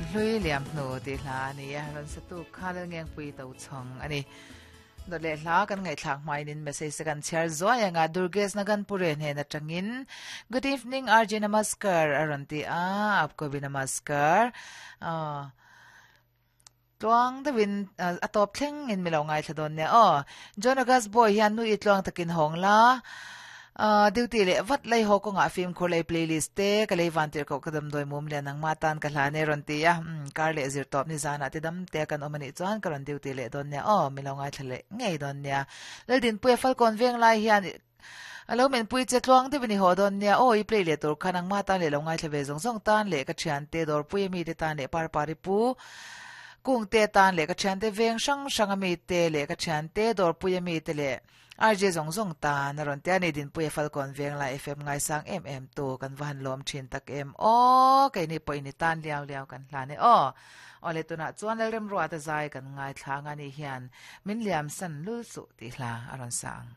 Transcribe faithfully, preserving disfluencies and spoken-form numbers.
Hlui liam hnu tih hla a ni a, rawn satu kha Lalngengpui Tochhawng a ni. Dawt leh hla kan ngaihthlak hmain message te kan chhiar zuai anga Durgesh Naganpure hnen atangin Good evening R J Namaskar a rawn ti a, aapko bhi namaskar. Aw tluang deuhin a tawp thleng in milo ngaithla dawn nia aw. John August Boy hian nu i tluang takin hawng la. Duty leh vat lei haw kawngah fimkhur lei playlist te ka lei van tirh koh ka damdawi mum lian nangmah tan ka hlan e rawn ti a, umm kar leh zir tawp ni zanah te dam te kan awm anih chuan ka rawn duty leh dawn nia aw milo ngaithla leh ngei dawn nia. Laldinpuia Falkawn veng lai hian a lo menpui che tluang deuh in i haw dawn nia aw i play leh tur kha nangmah tan leh lo ngaithla ve zawng zawng tan leh ka thiante dawrpui ami te tan leh parpari pu kungte tan leh ka thiante veng hrang hrang ami te leh ka thiante dawrpui ami te leh R J zawng zawng tan a rawn ti a ni. Dinpuia Falkawn Venglai F M ngaisang em em tu kan va han lawm thin tak em aw keini pawh in i tan liau liau kan hlan e aw. Aw le tunah chuan Lalremruata zai kan ngaithla ang a ni hian min liam san lul suh tih hla a rawn sa ang.